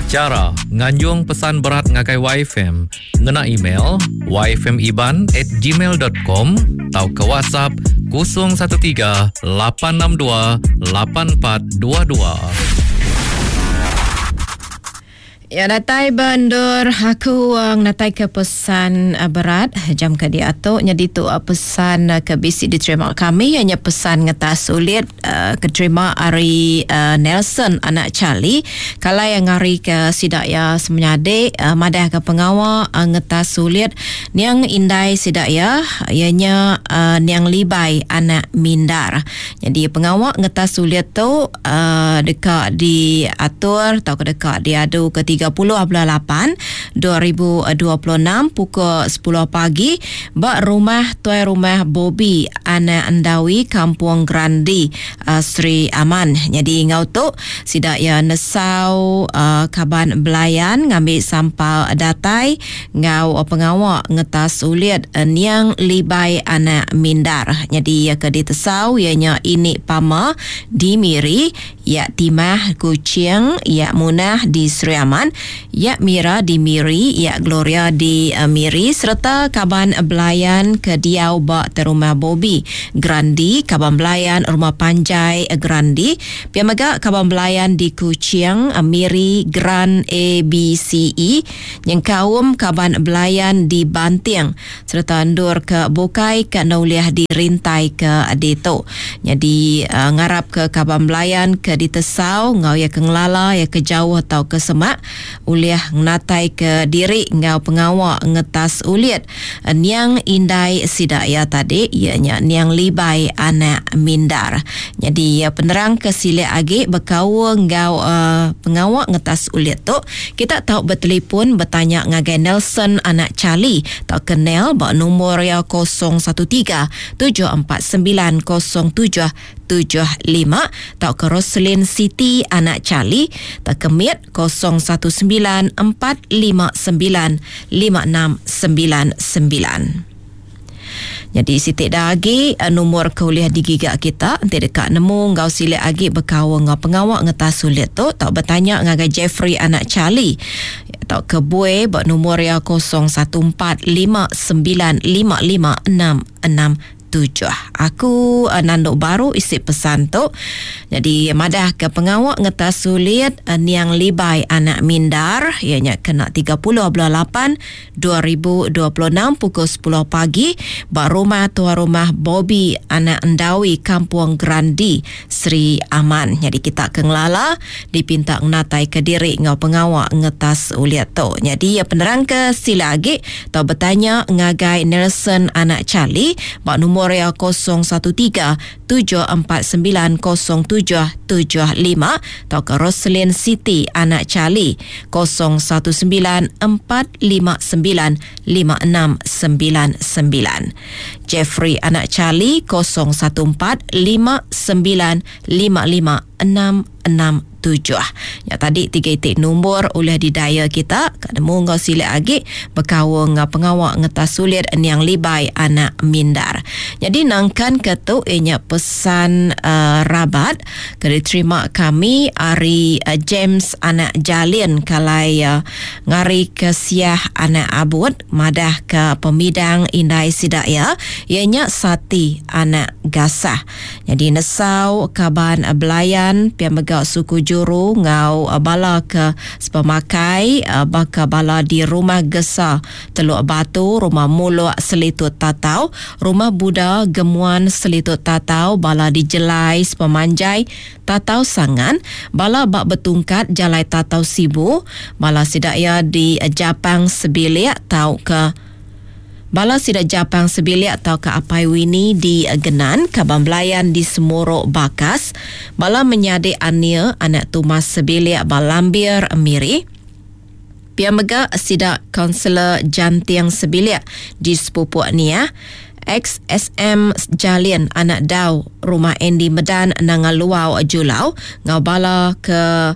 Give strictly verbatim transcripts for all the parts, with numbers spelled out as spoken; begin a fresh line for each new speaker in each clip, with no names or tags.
Chara nganjung pesan berat ngagai Y F M ngena email y f m iban at gmail dot com atau ke WhatsApp kosong satu tiga lapan enam dua lapan empat dua dua.
Ya, datai bendur aku ngatai ke pesan berat jam ke diatu jadi tu pesan ke bisi diterima kami hanya pesan ngetas sulit keterima ari Nelson anak Charlie kalau yang ngari ke sidak ya semenyadik madah ke pengawa ngetas sulit niang indai sidak ya ianya niang Libai anak Mindar. Jadi pengawa ngetas sulit tu dekat diatur atau dekat diadu ke tiga puluh bulan lapan dua ribu dua puluh enam pukul sepuluh pagi ba rumah tuai rumah Bobby anak Endawi Kampung Grandi uh, Sri Aman. Jadi ngau tu sidak ya nesau uh, kaban belayan ngambil sampal datai ngau pengawa ngetas ulit uh, niang Libai anak Mindar. Jadi ya ke ditesau ianya ini Pama di Miri, ya Timah Kuching, ya Munah di Sri Aman, ya Mira di Miri, ya Gloria di uh, Miri serta kaban belayan ke diau ba rumah Bobby Grandi, kaban belayan rumah Panjai Grandi, pia mega kaban belayan di Kuching, uh, Miri Grand A B C E, nyengkaum kaban belayan di Banting serta endur ke Bukai ke Nauliah di Rintai ke Ditu. Jadi uh, ngarap ke kaban belayan ke ditesau ngau ya ke ngelala ya ke jauh atau ke semak uliah ngatai ke diri ngau pengawa ngetas ulit niang indai sidak ya tadi ianya niang Libai anak Mindar. Jadi penerang ke silik agi berkaul ngau uh, pengawa ngetas ulit tu kita tahu bertelefon bertanya ngagai Nelson anak Charlie atau kenal bak nombor ya kosong satu tiga tujuh empat sembilan kosong tujuh tujuh lima atau ke Roslyn City anak Charlie atau ke Mit kosong satu sembilan empat lima sembilan lima enam sembilan sembilan. Jadi sitik dah agi nombor kuliah digiga kita nanti dekat nemu ngau silik agi berkaul ngau pengawak ngetas sulit tu tak bertanya ngagai Jeffrey anak Charlie atau ke Bue buat nombor ya kosong satu empat lima sembilan lima lima enam enam tujuh. Aku uh, nanduk baru isi pesan tu. Jadi madah ke pengawak ngetas sulit uh, niang Libai anak Mindar ianya kena tiga puluh bulan lapan dua ribu dua puluh enam pukul sepuluh pagi ba rumah tuan rumah Bobby anak Endawi Kampung Grandi Sri Aman. Jadi kita ke ngelala dipinta ngatai ke diri ngau pengawak ngetas uliat tu. Jadi ya penerang ke sila agi atau bertanya ngagai Nelson anak Charlie ba nombor Korea kosong satu tiga tujuh empat sembilan kosong tujuh tujuh lima atau ke Roslyn City anak Charlie kosong satu sembilan empat lima sembilan lima enam sembilan sembilan. Jeffrey anak Charlie kosong satu empat lima sembilan lima lima enam enam tujuh. Ya tadi tiga itik nombor oleh didaya kita kademu ngau silik agi berkaul ngau pengawak ngetas sulit niang Libai anak Mindar. Jadi nangkan ke tu ianya pesan uh, rabat ke diterima kami ari uh, James anak Jalin kalai uh, ngari ke Siah anak Abud madah ke pemidang indai sidak ya ianya Sati anak Gasah. Jadi nesau kaban belayan pia megak suku juru ngau bala ke sepemakai baka bala di rumah Gesa Teluk Batu, rumah Muluk Selitut Tatau, rumah Buddha Gemuan Selitut Tatau, bala di Jelai Sepemanjai Tatau Sangan, bala bak betungkat Jalai Tatau Sibu, bala sidakya di Japang Sebilik tau ke Bala sidak Japang Sebilik atau ke Apai Wini di Genan, Kaban Belayan di Semuruk Bakas, bala menyadik Ania anak Tumas Sebilik Balambir Miri. Pia mega sidak Kaunselor Jantiang Sebilik di Sepupuk Nia, X S M Jalin anak Dau Rumah Andy Medan Nangaluau Julau, ngau bala ke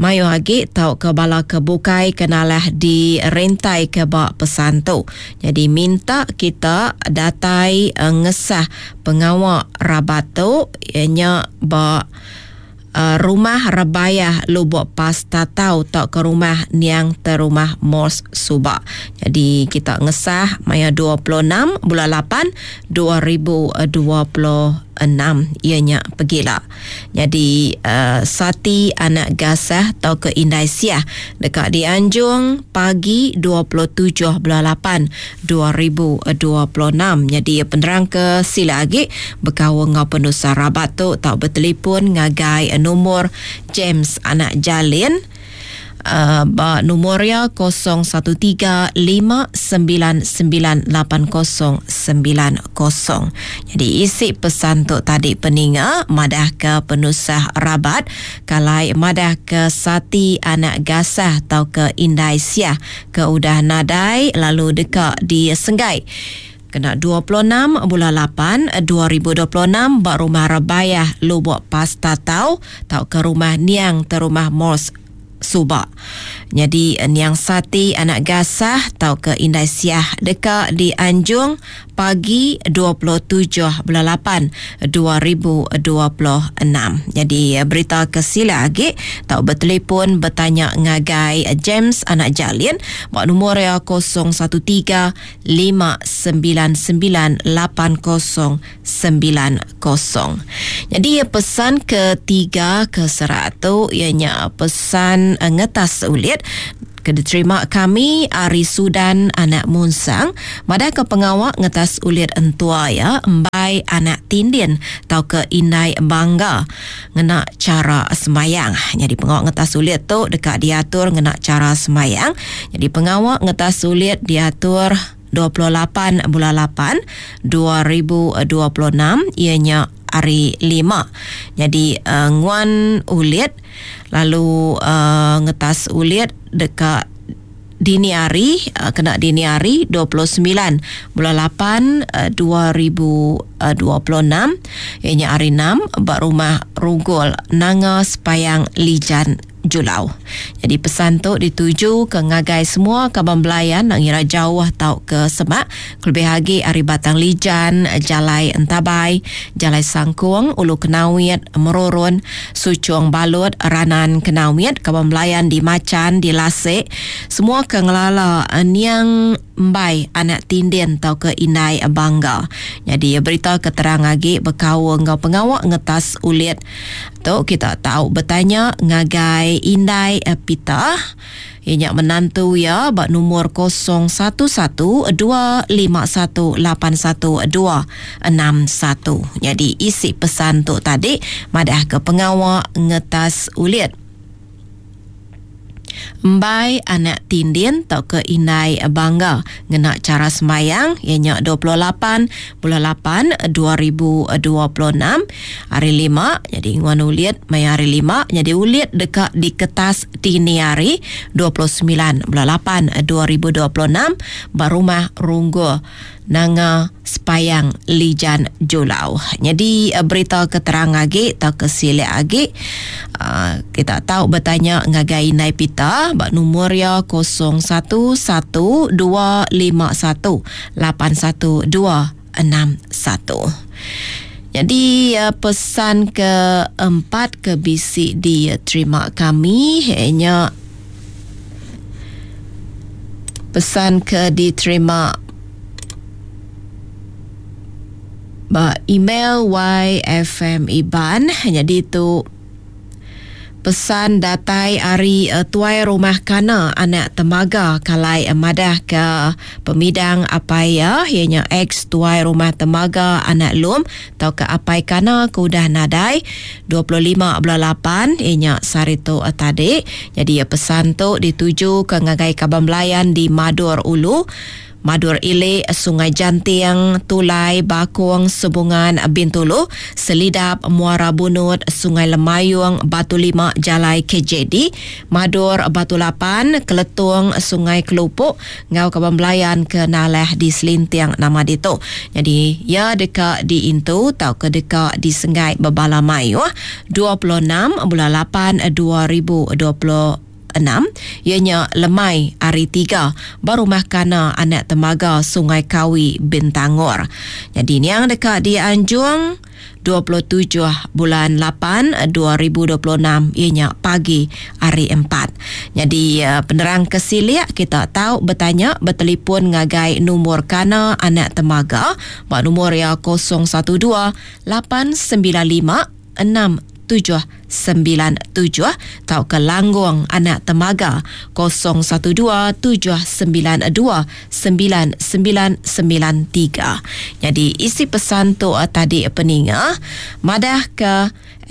Mayo agi tau ke bala ke bukai kenalah di rentai ke bak pesan tu. Jadi minta kita datai uh, ngesah pengawak rabat tu ianya bak uh, rumah Rebayah Lubok Pastatau tau ke rumah Niang Terumah Mos Subak. Jadi kita ngesah maya dua puluh enam bulan lapan dua ribu dua puluh enam ianya pegila. Jadi uh, Sati anak Gasah tau ke Indai Siah dekat dianjung pagi dua puluh tujuh bulan lapan dua ribu dua puluh enam. Jadi penerang ke sila lagi berkawan ngau penusa rabat tu tau bertelefon ngagai nomor James anak Jalin. Uh, ba nomor ya kosong satu tiga lima sembilan sembilan lapan kosong sembilan kosong. Jadi isi pesan tu tadi peninga madah ke penusah rabat kalai madah ke Sati anak Gasah atau ke Indai Siah ke udah nadai lalu dekat di Senggai. Kena dua puluh enam bulan lapan dua ribu dua puluh enam ba rumah Rebayah Lubok Pastatau tau ke rumah Niang Terumah Mos Subak. Jadi Niang Sati anak Gasah tau ke Indai Siah dekat di Anjung pagi dua puluh tujuh bulan lapan dua ribu dua puluh enam. Jadi berita kesila lagi tau bertelefon bertanya ngagai James anak Jalin buat nombor ya kosong satu tiga lima sembilan sembilan lapan kosong sembilan kosong. Jadi pesan ketiga ke seratu ianya pesan ngetas ulit ke diterima kami Ari Sudan anak Munsang madah ke pengawak ngetas ulit entua ya embai anak Tindin tau ke Indai Bangga ngena cara semayang. Jadi pengawak ngetas ulit tu dekat diatur ngena cara semayang. Jadi pengawak ngetas ulit diatur dua puluh lapan bulan lapan dua ribu dua puluh enam ianya hari lima. Jadi uh, nguan ulit lalu uh, ngetas ulit dekat dini hari, uh, kena dini hari dua puluh sembilan bulan lapan, uh, dua ribu dua puluh enam ianya hari enam bak rumah Rugul Nanga Sepayang Lijan Julau. Jadi pesan tu dituju ke ngagai semua kaban belayan nak ngira jauh tau ke Semak, kelebih lagi ari Batang Lijan, Jalai Entabai, Jalai Sangkung, Ulu Kenawit, Merurun, Sucung Balut, Ranan Kenawit, kaban belayan di Macan, di Lasik, semua ke ngelala Niang Mbai anak Tindin tau ke Indai Bangga. Jadi berita keterang lagi berkaul ngau pengawak ngetas ulit tu kita tahu bertanya ngagai Indai Pita ianya menantu ya bak nomor kosong satu satu dua lima satu lapan satu dua enam satu. Jadi isi pesan tu tadi madah ke pengawak ngetas ulit Mbai anak Tindin tau ke Indai Bangga ngena cara semayang ianya dua puluh lapan bulan lapan dua ribu dua puluh enam hari lima. Jadi nguan ulit maya hari lima jadi ulit dekat di kertas dini hari dua puluh sembilan bulan lapan dua ribu dua puluh enam barumah Runggu Nanga Sepayang Lijan Julau. Jadi berita keterang lagi atau kesilik lagi uh, kita tahu bertanya ngagai Indai Pita bak nombor ya kosong satu satu dua lima satu lapan satu dua enam satu. Jadi pesan keempat ke bisi diterima kami ianya pesan ke diterima ba email Y F M Iban. Jadi tu pesan datai ari uh, tuai rumah kana anak temaga kalai uh, madah ke pemidang apai ya ianya ex tuai rumah temaga anak lum atau ke apai kana ke udah nadai dua puluh lima bulan lapan ianya sehari tu uh, tadi. Jadi uh, pesan tu dituju ke ngagai kaban belayan di Madur Ulu, Madur Ile, Sungai Jantiang, Tulai, Bakung, Sebungan, Bintulu, Selidap, Muara Bunut, Sungai Lemayung, Batu Lima, Jalai K J D, Madur, Batu Lapan, Keletung, Sungai Kelupuk, ngau kaban belayan ke Naleh di Selintiang nama ditu. Jadi ya dekat di Intu tau ke dekat di Sengai Bebala Mayuh dua puluh enam bulan lapan dua ribu dua puluh enam ianya lemai hari tiga ba Rumah Kana Anak Temaga Sungai Kawi Bintangor. Jadi niang deka dianjung dua puluh tujuh bulan lapan dua ribu dua puluh enam ianya pagi hari empat. Jadi penerang kesilik kita tahu bertanya bertelefon ngagai nombor Kana Anak Temaga ba nombor ya kosong satu dua lapan sembilan lima enam tujuh sembilan tujuh atau ke Langgung Anak Temaga kosong satu dua tujuh sembilan dua sembilan sembilan sembilan tiga. Jadi isi pesan tu tadi peninga madah ke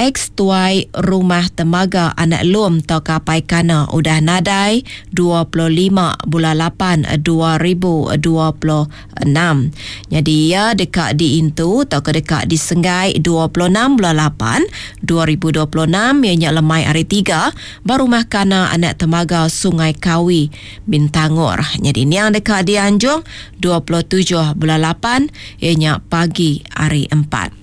ex tuai Rumah Temaga Anak Lum atau kapai Kana udah nadai dua puluh lima bulan lapan dua ribu dua puluh enam. Jadi ia dekat diintu atau ke dekat disenggai dua puluh enam bulan lapan dua ribu dua puluh enam ianya lemai hari tiga ba Rumah Kana Anak Temaga Sungai Kawi Bintangor. Jadi ni yang dekat dianjung dua puluh tujuh bulan lapan ianya pagi hari empat.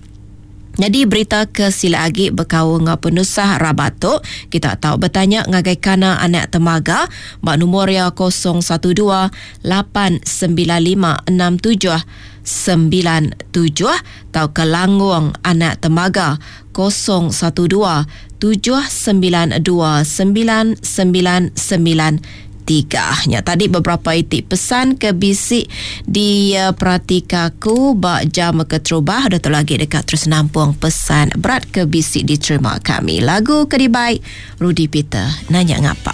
Jadi berita ke sila agi berkau ngau penusah rabat tu kita tahu bertanya ngagai Kana Anak Temaga bak nombor ya kosong satu dua lapan sembilan lima enam tujuh sembilan tujuh atau ke Langgung Anak Temaga kosong satu dua tujuh sembilan dua sembilan sembilan sembilan tiga. Ya, tadi beberapa itik pesan ke bisik di uh, Pratikaku bak jam keterubah dah tu lagi dekat terus nampung pesan berat ke bisik diterima kami. Lagu kedibai Rudy Peter nanya ngapa.